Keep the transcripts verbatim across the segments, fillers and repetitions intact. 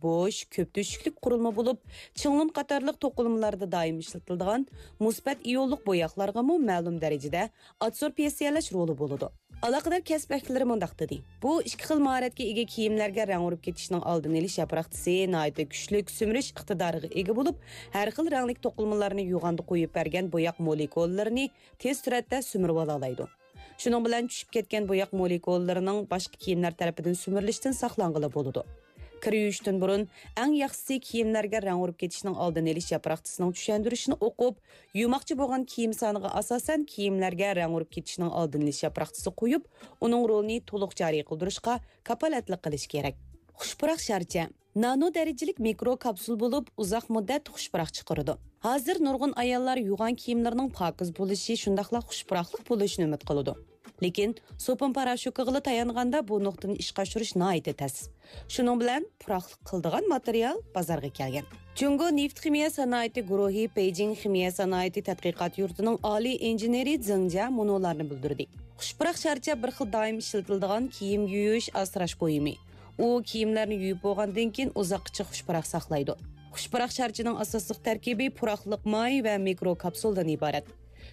بوش، كۆپ تۆشۈكلۈك قۇرۇلما بولۇپ، چىڭلۇن قاتارلىق توقۇلمىلاردا دائىم ئىشلىتىلىدىغان مۇسبەت ئىيونلۇق بوياقلارغىمۇ مەلۇم دەرىجىدە ئادسوربسىيەلەش رولى بولىدۇ. ئالاقىدار كەسىپ ۋەكىللىرى مۇنداق دېدى: بۇ ئىككى خىل ماھارەتكە ئىگە كىيىملەرگە رەڭ ئۇرۇپ كېتىشنىڭ ئالدىنى ئېلىش ياپراقچىسى ناھايىتى كۈچلۈك سۈمۈرۈش ئىقتىدارىغا ئىگە بولۇپ، ھەر خىل رەڭلىك توقۇلمىلارنى يوغاندا قويۇپ بەرگەن بوياق مولېكۇللىرىنى تېز سۈرئەتتە سۈمۈرۈۋالالايدۇ. شۇنىڭ بىلەن چۈشۈپ كەتكەن بوياق مولېكۇللىرىنىڭ باشقا كىيىملەر تەرىپىدىن سۈمۈرۈلۈشتىن ساقلانغىلى بولىدۇ. كىر يۇيۇشتىن بۇرۇن ئەڭ ياخشىسى كىيىملەرگە رەڭ ئۇرۇپ كېتىشنىڭ ئالدىنى ئېلىش ياپراقچىسىنىڭ چۈشەندۈرۈشىنى ئوقۇپ، يۇماقچە بولغان كىيىم سانىغا ئاساسەن كىيىملەرگە رەڭ ئۇرۇپ كېتىشنىڭ ئالدىنى ئېلىش ياپراقچىسى قويۇپ، ئۇنىڭ رولىنى تولۇق جارى قىلدۇرۇشقا كاپالەتلىك قىلىش كېرەك. خۇش پۇراق شارچە نانو دەرىجىلىك مىكرو كاپسۇل بولۇپ، ئۇزاق مۇددەت خۇش پۇراق چىقىرىدۇ. ھازىر نۇرغۇن ئاياللار يۇغان كىيىملىرىنىڭ پاكىز بولۇشى، شۇنداقلا خۇش پۇراقلىق بولۇشىنى ئۈمىد قىلىدۇ. لېكىن سوپۇن پاراشوكىغىلا تايانغاندا بۇ نۇقتىنى ئىشقا ئاشۇرۇش ناھايىتى تەس. شۇنىڭ بىلەن پۇراقلىق قىلىدىغان ماتېرىيال بازارغا كەلگەن. جۇڭگو نېفىت خىمىيە سانائىتى گۇرۇھى بېيجىڭ خىمىيە سانائىتى تەتقىقات يۇرتىنىڭ ئالىي ئىنژېنېرى زېڭ جيا مۇنۇلارنى بىلدۈردى: خۇش پۇراق شارچە بىر خىل دائىم ئىشلىتىلىدىغان كىيىم يۇيۇش، ئاسراش بۇيۇمى. ئۇ كىيىملەرنى يۇيۇپ بولغاندىن كېيىن ئۇزاققىچە خۇش پۇراق ساقلايدۇ. خۇش پۇراق شارچىنىڭ ئاساسلىق تەركىبى پۇراقلىق ماي ۋە مىكرو كاپسۇلدىن ئىبارەت.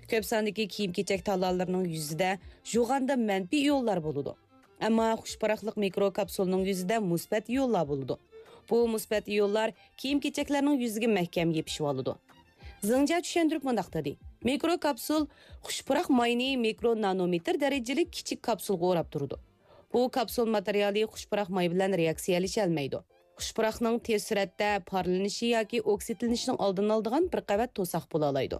كۆپ ساندىكى كىيىم-كېچەك تالالىرىنىڭ يۈزىدە يۇغاندا مەنپىي ئىيونلار بولىدۇ. ئەمما خۇش پۇراقلىق مىكرو كاپسۇلنىڭ يۈزىدە مۇسبەت ئىيونلار بولىدۇ. بۇ مۇسبەت ئىيونلار كىيىم-كېچەكلەرنىڭ يۈزىگە مەھكەم يېپىشىۋالىدۇ. زېڭ جيا چۈشەندۈرۈپ مۇنداق دېدى: مىكرو كاپسۇل خۇش پۇراق ماينى مىكرو نانومېتىر دەرىجىلىك كىچىك كاپسۇلغا ئوراپ تۇرىدۇ. بۇ كاپسۇل ماتېرىيالى خۇش پۇراق ماي بىلەن رېئاكسىيەلىشەلمەيدۇ. خۇش پۇراقنىڭ تېز سۈرئەتتە پارلىنىشى ياكى ئوكسىدلىنىشىنىڭ ئالدىنى ئالىدىغان بىر قەۋەت توساق بولالايدۇ.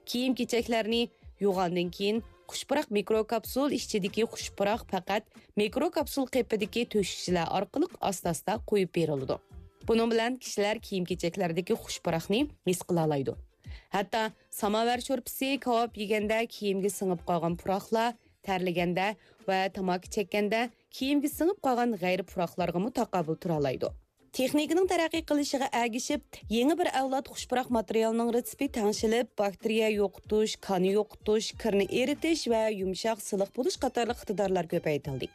كىيىم-كېچەكلەرنى يۇغاندىن كېيىن، خۇش پۇراق مىكرو كاپسۇل ئىچىدىكى خۇش پۇراق پەقەت مىكرو كاپسۇل قېپىدىكى تۆشۈكچىلەر ئارقىلىق ئاستا-ئاستا قويۇپ بېرىلىدۇ. بۇنىڭ بىلەن كىشىلەر كىيىم-كېچەكلەردىكى خۇش پۇراقنى ھېس قىلالايدۇ. ھەتتا ساماۋار شورپىسى، كاۋاپ يېگەندە كىيىمگە سىڭىپ قالغان پۇراقلار، تەرلىگەندە ۋە تاماكا چەككەندە كىيىمگە سىڭىپ قالغان غەيرىي پۇراقلارغىمۇ تاقابىل تۇرالايدۇ. تېخنىكىنىڭ تەرەققىي قىلىشىغا ئەگىشىپ، يېڭى بىر ئەۋلاد خۇش پۇراق ماتېرىيالىنىڭ رېتسېپى تەڭشىلىپ، باكتېرىيە يوقىتىش، كان يوقىتىش، كىرنى ئېرىتىش ۋە يۇمشاق، سىلىق بولۇش قاتارلىق ئىقتىدارلار كۆپەيتىلدى.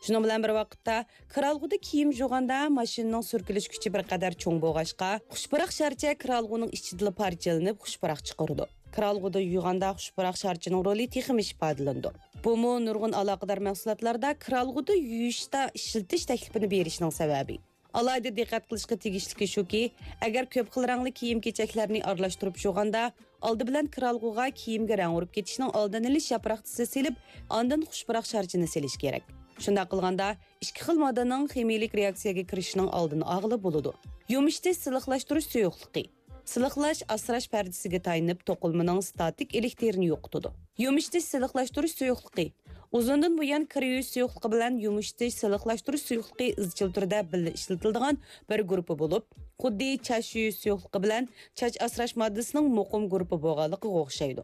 شۇنىڭ بىلەن بىر ۋاقىتتا، كىرئالغۇدا كىيىم جۇغاندا ماشىنىنىڭ سۈركىلىش كۈچى بىر قەدەر چوڭ بولغاچقا، خۇش پۇراق شارچە كىرئالغۇنىڭ ئىچىدىلا پارچىلىنىپ خۇش پۇراق چىقىرىدۇ. كىرئالغۇدا يۇغاندا خۇش پۇراق شارچىنىڭ رولى تېخىمۇ ئىپادىلىنىدۇ. بۇمۇ نۇرغۇن ئالاقىدار مەھسۇلاتلاردا كىرئالغۇدا يۇيۇشتا ئىشلىتىش تەكلىپىنى بېرىشنىڭ سەۋەبى. ئالاھىدە دىققەت قىلىشقا تېگىشلىكى شۇكى، ئەگەر كۆپ خىل رەڭلىك كىيىم-كېچەكلەرنى ئارىلاشتۇرۇپ يۇغاندا، ئالدى بىلەن كىرئالغۇغا كىيىمگە رەڭ ئۇرۇپ كېتىشنىڭ ئالدىنى ئېلىش ياپراقچىسى سېلىپ، ئاندىن خۇش پۇراق شارچىنى سېلىش كېرەك. شۇنداق قىلغاندا، ئىككى خىل ماددىنىڭ خىمىيىلىك رېئاكسىيەگە كىرىشىنىڭ ئالدىنى ئالغىلى بولىدۇ. يۇمشىتىش، سىلىقلاشتۇرۇش سۇيۇقلۇقى. سىلىقلاش ئاسراش پەردىسىگە تايىنىپ، توقۇلمىنىڭ ستاتىك ئېلېكتىرىنى يوقىتىدۇ. يۇمشىتىش، سىلىقلاشتۇرۇش سۇيۇقلۇقى. ئۇزۇندىن بۇيان كىر يۇيۇش سۇيۇقلۇقى بىلەن يۇمشىتىش، سىلىقلاشتۇرۇش سۇيۇقلۇقى ئىزچىل تۈردە بىللە ئىشلىتىلىدىغان بىر گۇرۇپپا بولۇپ، خۇددى چاچ يۇيۇش سۇيۇقلۇقى بىلەن چاچ ئاسراش ماددىسىنىڭ مۇقىم گۇرۇپپا بولغانلىقىغا ئوخشايدۇ.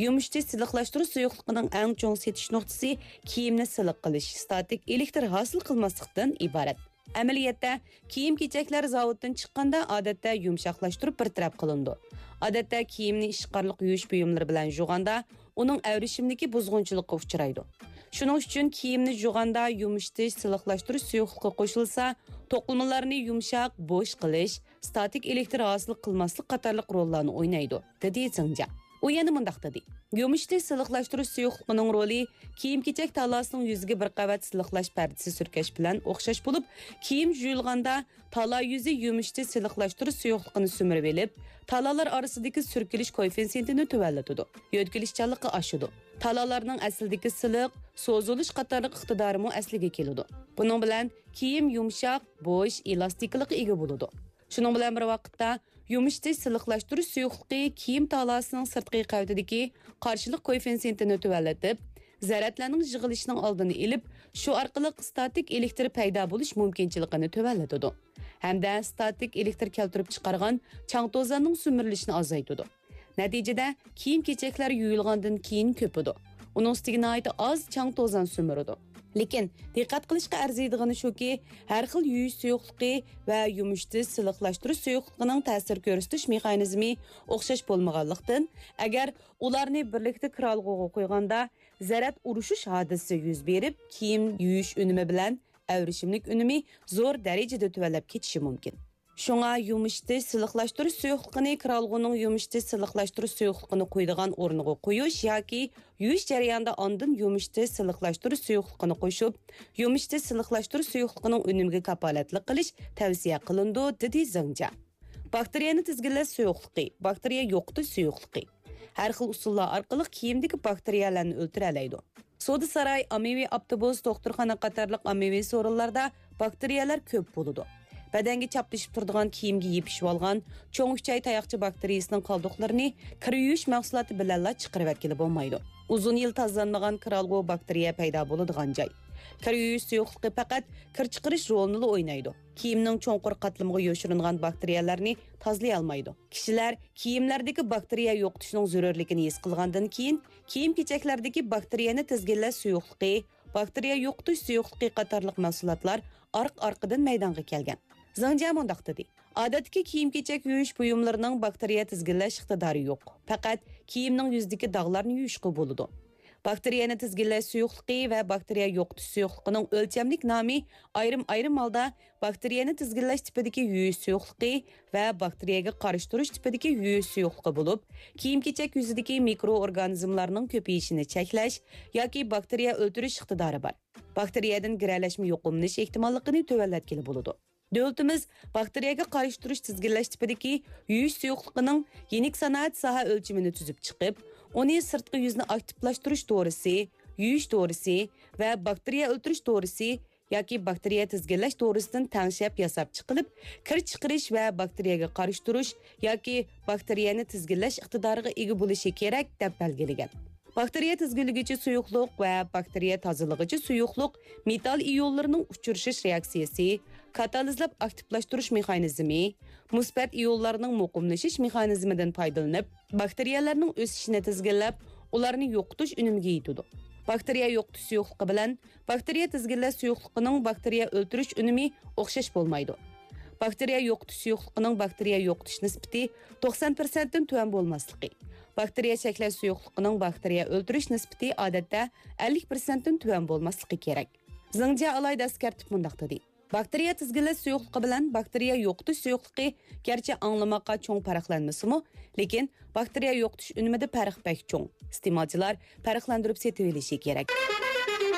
يۇمشىتىش، سىلىقلاشتۇرۇش سۇيۇقلۇقىنىڭ ئەڭ چوڭ سېتىش نۇقتىسى كىيىمنى سىلىق قىلىش، ستاتىك ئېلېكتر ھاسىل قىلماسلىقتىن ئىبارەت. ئەمەلىيەتتە، كىيىم-كېچەكلەر زاۋۇتتىن چىققاندا، ئادەتتە يۇمشاقلاشتۇرۇپ بىر تەرەپ قىلىنىدۇ. ئادەتتە كىيىمنى ئىشقارلىق يۇيۇش بۇيۇملىرى بىلەن يۇغاندا، ئۇنىڭ ئەۋرىشىملىكى بۇزغۇنچىلىققا ئۇچرايدۇ. شۇنىڭ ئۈچۈن كىيىمنى يۇغاندا يۇمشىتىش، سىلىقلاشتۇرۇش سۇيۇقلۇقى قوشۇلسا، توقۇلمىلارنى يۇمشاق، بوش قىلىش، ستاتىك ئېلېكتر ھاسىل قىلماسلىق قاتارلىق روللارنى ئوينايدۇ، دېدى زېڭ جيا. ئۇ يەنە مۇنداق دېدى: يۇمشىتىش، سىلىقلاشتۇرۇش سۇيۇقلۇقىنىڭ رولى كىيىم-كېچەك تالاسىنىڭ يۈزىگە بىر قەۋەت سىلىقلاش پەردىسى سۈركەش بىلەن ئوخشاش بولۇپ، كىيىم يۇيۇلغاندا تالا يۈزى يۇمشىتىش، سىلىقلاشتۇرۇش سۇيۇقلۇقىنى سۈمۈرۈۋېلىپ، تالالار ئارىسىدىكى سۈركىلىش كوئېففىتسېنتىنى تۆۋەنلىتىدۇ، يۆتكىلىشچانلىقى ئاشىدۇ. تالالارنىڭ ئەسلىدىكى سىلىق، سوزۇلۇش قاتارلىق ئىقتىدارىمۇ ئەسلىگە كېلىدۇ. بۇنىڭ بىلەن كىيىم يۇمشاق، بوش، ئېلاستىكىلىققا ئىگە بولىدۇ. شۇنىڭ بىلەن بىر ۋاقىتتا، يۇمشىتىش، سىلىقلاشتۇرۇش سۇيۇقلۇقى كىيىم تالاسىنىڭ سىرتقى قەۋىتىدىكى قارشىلىق كوئېففىتسېنتىنى تۆۋەنلىتىپ، زەرەتلەرنىڭ يىغىلىشىنىڭ ئالدىنى ئېلىپ، شۇ ئارقىلىق ستاتىك ئېلېكتر پەيدا بولۇش مۇمكىنچىلىكىنى تۆۋەنلىتىدۇ ھەمدە ستاتىك ئېلېكتر كەلتۈرۈپ چىقارغان چاڭ توزاننىڭ سۈمۈرۈلۈشىنى ئازايتىدۇ. نەتىجىدە، كىيىم-كېچەكلەر يۇيۇلغاندىن كېيىن كۆپىدۇ. ئۇنىڭ ئۈستىگە ناھايىتى ئاز چاڭ توزان سۈمۈرىدۇ. لېكىن، دىققەت قىلىشقا ئەرزىيدىغىنى شۇكى، ھەر خىل يۇيۇش سۇيۇقلۇقى ۋە يۇمشىتىش، سىلىقلاشتۇرۇش سۇيۇقلۇقىنىڭ تەسىر كۆرسىتىش مېخانىزمى ئوخشاش بولمىغانلىقتىن، ئەگەر ئۇلارنى بىرلىكتە كىرئالغۇغا قويغاندا، زەرەت ئۇرۇشۇش ھادىسىسى يۈز بېرىپ، كىيىم يۇيۇش ئۈنۈمى بىلەن ئەۋرىشىملىك ئۈنۈمى زور دەرىجىدە تۆۋەنلەپ كېتىشى مۇمكىن. شۇڭا يۇمشىتىش، سىلىقلاشتۇرۇش سۇيۇقلۇقىنى كىرئالغۇنىڭ يۇمشىتىش، سىلىقلاشتۇرۇش سۇيۇقلۇقىنى قۇيىدىغان ئورنىغا قويۇش ياكى يۇيۇش جەريانىدا ئاندىن يۇمشىتىش، سىلىقلاشتۇرۇش سۇيۇقلۇقىنى قوشۇپ، يۇمشىتىش، سىلىقلاشتۇرۇش سۇيۇقلۇقىنىڭ ئۈنۈمىگە كاپالەتلىك قىلىش تەۋسىيە قىلىنىدۇ، دېدى زېڭ جيا. باكتېرىيەنى تىزگىنلەش سۇيۇقلۇقى، باكتېرىيە يوقىتىش سۇيۇقلۇقى. ھەر خىل ئۇسۇللار ئارقىلىق كىيىمدىكى باكتېرىيەلەرنى ئۆلتۈرەلەيدۇ. سودا ساراي، ئاممىۋى ئاپتوبۇس، دوختۇرخانا قاتارلىق ئاممىۋى سورۇنلاردا باكتېرىيەلەر كۆپ بولىدۇ. بەدەنگە چاپلىشىپ تۇرىدىغان كىيىمگە يېپىشىۋالغان چوڭ ئۈچەي تاياقچە باكتېرىيىسىنىڭ قالدۇقلىرىنى كىر يۇيۇش مەھسۇلاتى بىلەنلا چىقىرىۋەتكىلى بولمايدۇ. ئۇزۇن يىل تازىلانمىغان كىرئالغۇ باكتېرىيە پەيدا بولىدىغان جاي. كىر يۇيۇش سۇيۇقلۇقى پەقەت كىر چىقىرىش رولىنىلا ئوينايدۇ. كىيىمنىڭ چوڭقۇر قاتلىمىغا يوشۇرۇنغان باكتېرىيەلەرنى تازىلىيالمايدۇ. كىشىلەر كىيىملەردىكى باكتېرىيە يوقىتىشنىڭ زۆرۈرلۈكىنى ھېس قىلغاندىن كېيىن، كىيىم-كېچەكلەردىكى باكتېرىيەنى تىزگىنلەش سۇيۇقلۇقى، باكتېرىيە يوقىتىش سۇيۇقلۇقى قاتارلىق مەھسۇلاتلار ئارقا-ئارقىدىن مەيدانغا كەلگەن. زېڭ جيا مۇنداق دېدى: ئادەتتىكى كىيىم-كېچەك يۇيۇش بۇيۇملىرىنىڭ باكتېرىيە تىزگىنلەش ئىقتىدارى يوق. پەقەت كىيىمنىڭ يۈزىدىكى داغلارنى يۇيۇشقا بولىدۇ. باكتېرىيەنى تىزگىنلەش سۇيۇقلۇقى ۋە باكتېرىيە يوقىتىش سۇيۇقلۇقىنىڭ ئۆلچەملىك نامى ئايرىم-ئايرىم ھالدا باكتېرىيەنى تىزگىنلەش تىپىدىكى يۇيۇش سۇيۇقلۇقى ۋە باكتېرىيەگە قارشى تۇرۇش تىپىدىكى يۇيۇش سۇيۇقلۇقى بولۇپ، كىيىم-كېچەك يۈزىدىكى مىكرو ئورگانىزملارنىڭ كۆپىيىشىنى چەكلەش ياكى باكتېرىيە ئۆلتۈرۈش ئىقتىدارى بار. باكتېرىيەدىن گىرەلەشمە يۇقۇملىنىش ئېھتىماللىقىنى تۆۋەنلەتكىلى بولىدۇ. دۆلىتىمىز باكتېرىيەگە قارشى تۇرۇش تىزگىنلەش تىپىدىكى يۇيۇش سۇيۇقلۇقىنىڭ يېنىك سانائەت ساھە ئۆلچىمىنى تۈزۈپ چىقىپ، ئۇنى سىرتقى يۈزنى ئاكتىپلاشتۇرۇش دورىسى، يۇيۇش دورىسى ۋە باكتېرىيە ئۆلتۈرۈش دورىسى ياكى باكتېرىيە تىزگىنلەش دورىسىدىن تەڭشەپ ياساپ چىقىلىپ، كىر چىقىرىش ۋە باكتېرىيەگە قارشى تۇرۇش ياكى باكتېرىيەنى تىزگىنلەش ئىقتىدارىغا ئىگە بولۇشى كېرەك، دەپ بەلگىلىگەن. باكتېرىيە تىزگىنلىگۈچى سۇيۇقلۇق ۋە باكتېرىيە تازىلىغۇچى سۇيۇقلۇق مېتال ئىيونلىرىنىڭ ئۇچرىشىش رېئاكسىيىسى، كاتالىزلاپ ئاكتىپلاشتۇرۇش مېخانىزمى، مۇسبەت ئىيونلارنىڭ مۇقىملىشىش مېخانىزمىدىن پايدىلىنىپ، باكتېرىيەلەرنىڭ ئۆسۈشىنى تىزگىنلەپ، ئۇلارنى يوقىتىش ئۈنۈمىگە يېتىدۇ. باكتېرىيە يوقىتىش سۇيۇقلۇقى بىلەن باكتېرىيە تىزگىنلەش سۇيۇقلۇقىنىڭ باكتېرىيە ئۆلتۈرۈش ئۈنۈمى ئوخشاش بولمايدۇ. باكتېرىيە يوقىتىش سۇيۇقلۇقىنىڭ باكتېرىيە يوقىتىش نىسبىتى توقسان پىرسەنتتىن تۆۋەن بولماسلىقى، باكتېرىيە چەكلەش سۇيۇقلۇقىنىڭ باكتېرىيە ئۆلتۈرۈش نىسبىتى ئادەتتە ئەللىك پىرسەنتتىن تۆۋەن بولماسلىقى كېرەك. زېڭ جيا ئالاھىدە ئەسكەرتىپ مۇنداق دېدى: باكتېرىيە تىزگىنلەش سۇيۇقلۇقى بىلەن باكتېرىيە يوقىتىش سۇيۇقلۇقى گەرچە ئاڭلىماققا چوڭ پەرقلەنمىسىمۇ، لېكىن باكتېرىيە يوقىتىش ئۈنۈمىدە پەرق بەك چوڭ. ئىستېمالچىلار پەرقلەندۈرۈپ سېتىۋېلىشى كېرەك.